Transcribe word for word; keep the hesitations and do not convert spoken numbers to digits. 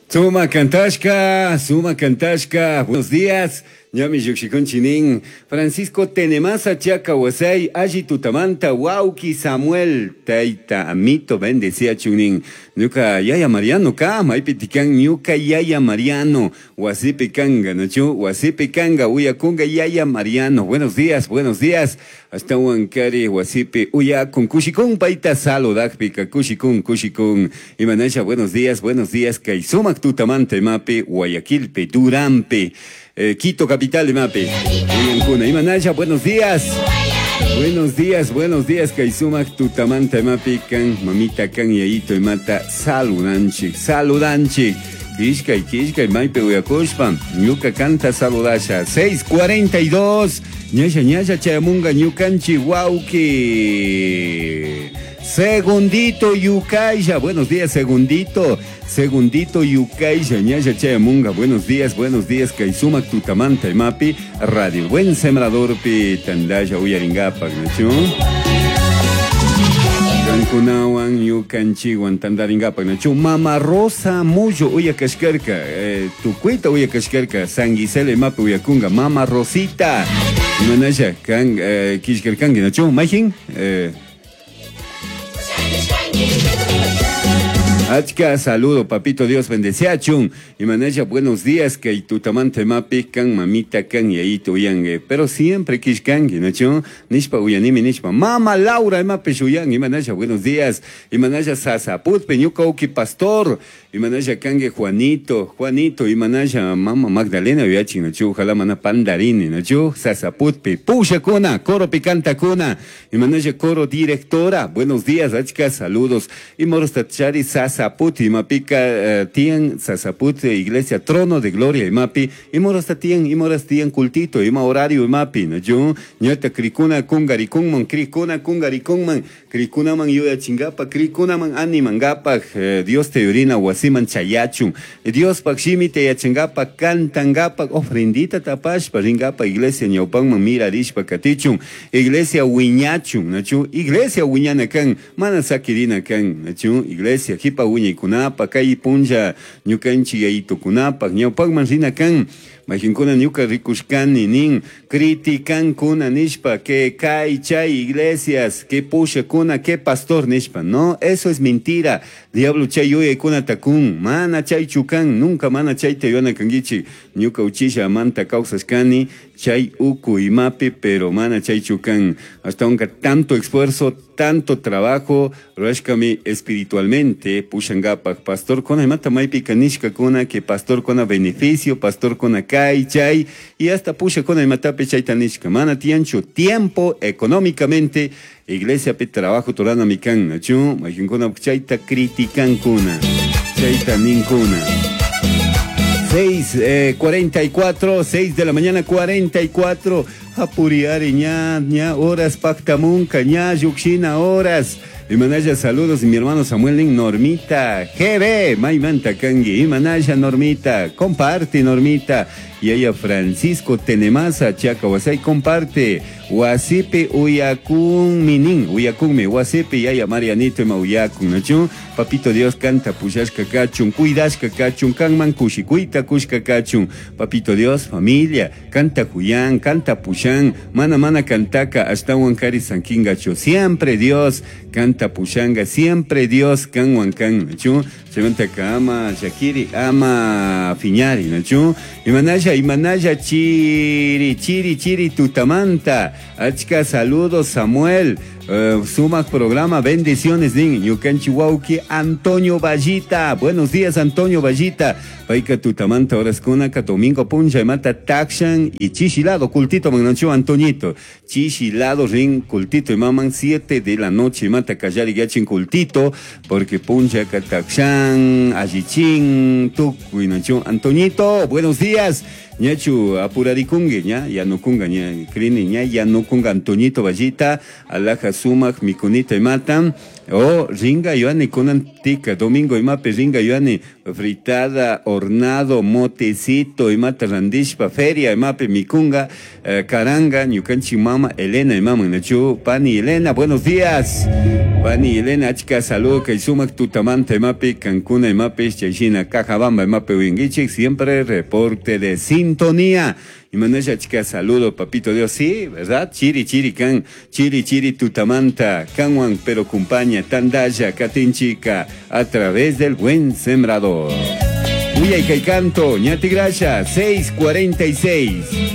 Suma Kantashka, Suma Kantashka, buenos días. Ñami llukshikunchinin. Francisco Tenemasa Chaca Wasay, Alli Tutamanta, Wauki Samuel, Taita Amito, bendecía chunin. Ñuka Yaya Mariano ka, maypi tikan ñuka Yaya Mariano, Wasipi kanga, nachu, Wasipi kanga, uyakunga Yaya Mariano. Buenos días, buenos días. Hasta Huancari, Wasipi, uyakun, kushikun, paita saludakpika, kushikun, kushikun. Imanasha, buenos días, buenos días, kay sumak tutamanta imapi, Guayaquilpe, Durampe. Eh, Quito capital imapi. Uyankuna. Imanasha, buenos días. Buenos días, buenos días, kay sumak tutamanta imapi kan, mamita kan yayito imata saludanchik, saludanchik. Kishkay, kishkay, maypi uyakushpa, ñuka kanta saludasha. seis cuarenta y dos, ñasha, ñasha, chayamunga, ñukanchi, wauki. Segundito Yucaisha, buenos días, segundito, segundito Yucaisha, ñasha chayamunga, buenos días, buenos días, kay sumak tutamanta imapi, Radio Buen Sembradorpi, tandaya uyaringapak, nachu? Kankunawan, ñukanchiwan, tandaringapak, nachu? Mama Rosa Muyo, uyakashkarka, eh, tukuita uyakashkarka, San Gisela imapi uyakunga, Mama Rosita, imanasha, kan, eh, kishkarkanki, nachu? Majin, eh, Achka, saludo, papito Dios bendeciachun. Y manaya, buenos días, que tutamante mapi, kan mamita, kan yayito uyangue. Pero siempre kishkangi, ¿no? Nishpa uyanimi, nishpa. Mama Laura, mapi shuyan, y manaya, buenos días. Y manaya, sasaput, peñuca, uki pastor. Y manaya, kangue Juanito, Juanito, y manaya, mama Magdalena, uyachin, ¿no? Ojalá mana pandarini, ¿no? Sasaputpi, pusha kuna, coro picanta kuna. Y manaya, coro directora, buenos días, achka, saludos. Y morostachari, sasa. Saputi, Mapica, uh, tien, Sasaput, Iglesia, Trono de Gloria, Imapi, y morasta tien, y moras tien cultito, ima horario, Imapi, no yo, ñata cricuna, cungaricunman, cricuna, cungaricunman, cricunaman, yuya chingapa, cricunaman, animangapa, eh, Dios te orina, wasiman chayachun, Dios pakshimi te yachangapa, cantangapa, ofrendita tapashpa, ringapa, Iglesia, ñaupanman, mirarishpa, katichun, Iglesia, wiñachun, nachu, Iglesia, wiñanakan, mana sakirina kan, nachu, Iglesia, jipa, uñaykunapa, kay punlla ñukanchik yayitukunapaq, ñawpaqman rina kan, majinkuna ñuka rikushkani nin, criticankuna nishpa, que kay chay iglesias, que pushakuna, que pastor nishpa, no, eso es mentira, diablo chay yuyaykuna takun, mana chay chukan, nunca mana chay tayuana kankichik, ñuka uchisha manta kawsashkani, chay uku imapi, pero mana chay chukan, hasta aunque tanto esfuerzo, tanto trabajo, rashkami espiritualmente, pushangapak, pastor kona imata maypi kanishka kuna, que pastor kona beneficio, pastor kona kay chay, y hasta pusha kona imatapi chayta nishka, mana tiancho, tiempo económicamente, iglesia pe trabajo torana mikan, nachu, majinkuna chayta critican kuna, chayta ninkuna. seis cuarenta y cuatro, seis de la mañana cuarenta y cuatro, apuriari ña, ña, horas pactamunca, ña, yuxina, horas. Y manaya, saludos, mi hermano Samuel Normita, G B, Maymanta Kangi, y manaya Normita, comparte Normita, y ella Francisco Tenemasa, Chacahuasay, comparte, Huasipe Uyacun Minin, Uyacunme, Huasipe, y ella Marianito, Mauyacun, Nachun, Papito Dios canta, Puyashka Cachun, Cuidashka Cachun, Kanman Kushikuita Kushka Cachun, Papito Dios, familia, canta Juyán, canta Puyán, Mana Mana Cantaka, hasta Huancari Sanquingacho, siempre Dios, canta Pushanga, siempre Dios, kan huancan, nachu, se ama Shakiri, ama Fiñari, nachu, imanaya, imanaya, chiri, chiri, chiri, tutamanta, achka, saludos, Samuel, Uh, sumak programa, bendiciones, nin, ñukanchi wauki, Antonio Vallita, buenos días, Antonio Vallita, paika tutamanta horas kunaka, domingo puncha, mata takshan y chichilado, cultito, mananchu, Antoñito, chichilado, rin, cultito, y maman, siete de la noche, mata kallari gachin cultito, porque puncha, takshan, allichin, tukuy, nanchu, Antoñito, buenos días. Ñachu apurarikungi ña yanukunga ña crini ña yanukunga Antoñito Vallita alaja sumak mikunita imata o ringa yuani kunan tika domingo imapi ringa yuani fritada hornado motecito imata randishpa feria imapi mikunga eh, karanga ñukanchik mama Elena imaman nachu pani Elena buenos días pani Elena achka saludo kay sumak tutamanta imapi kankuna imapi chayshina Cajabamba imapi uyankichik siempre reporte de sintonía y manasha chica saludo papito Dios sí verdad chiri chiri kan chiri chiri tutamanta kanwan pero compaña tandaya katinchica a través del buen sembrador Uy, kay canto, ñati gracias, seis cuarenta y seis.